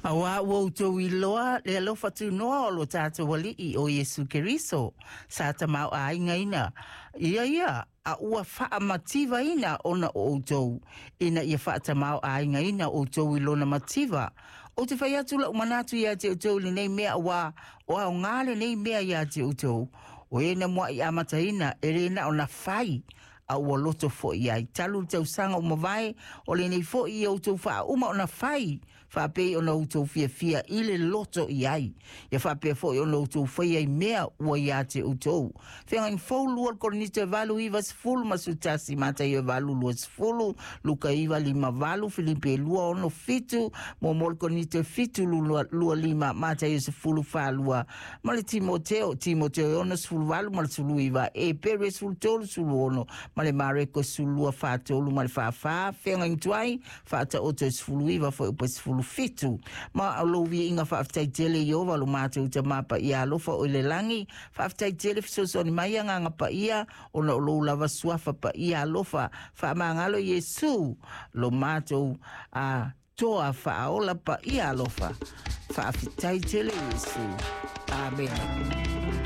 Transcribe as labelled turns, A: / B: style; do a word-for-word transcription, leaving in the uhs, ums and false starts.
A: Auā ua outou iloa le alofa tunoa o lo tatou Alii o Iesu Keriso, sa tamaoaigaina ia ia a ua faamativaina ona o outou, ina ia faatamaoaigaina outou i lona mativa. Ou te fai atu la'u manatu iā te outou i lenei mea, auā o aogā lenei mea iā te outou, o e na mua'i amataina e lē na o na fai, a ua loto fo'i ai. Talu le tausaga ua mavae, o lenei fo'i ia outou faauma ona fai, faapei ona outou fiafia i le loto i ai. Ia faapea fo'i ona outou faia i mea ua iā te outou. Feagaiga Fou, lua Korinito e valu iva sefulu ma sefulutasi, Mataio e valu luasefulu, Luka iva lima valu, Filipi e lua ono fitu, Muamua Korinito e fitu lua lima, Mataio sefulu falua, ma le Timoteo, Timoteo e ono sefulu valu ma le sefulu iva, Epere sefulu tolu sefulu ono, ma le Mareko sefulu lua fatolu ma le fāfā, Feagaiga Tuai faataoto e sefulu iva fuaiupu e sefulu fitu. Ma o lou viiga faafetai tele Ieova lo matou Tamā paia alofa o i le lagi, faafetai tele fesoasoani mai Agaga Paia ona o lou lava suafa paia alofa, faamagalo Iesu lo matou a toa faaola paia alofa, faafetai tele Iesu. Amene.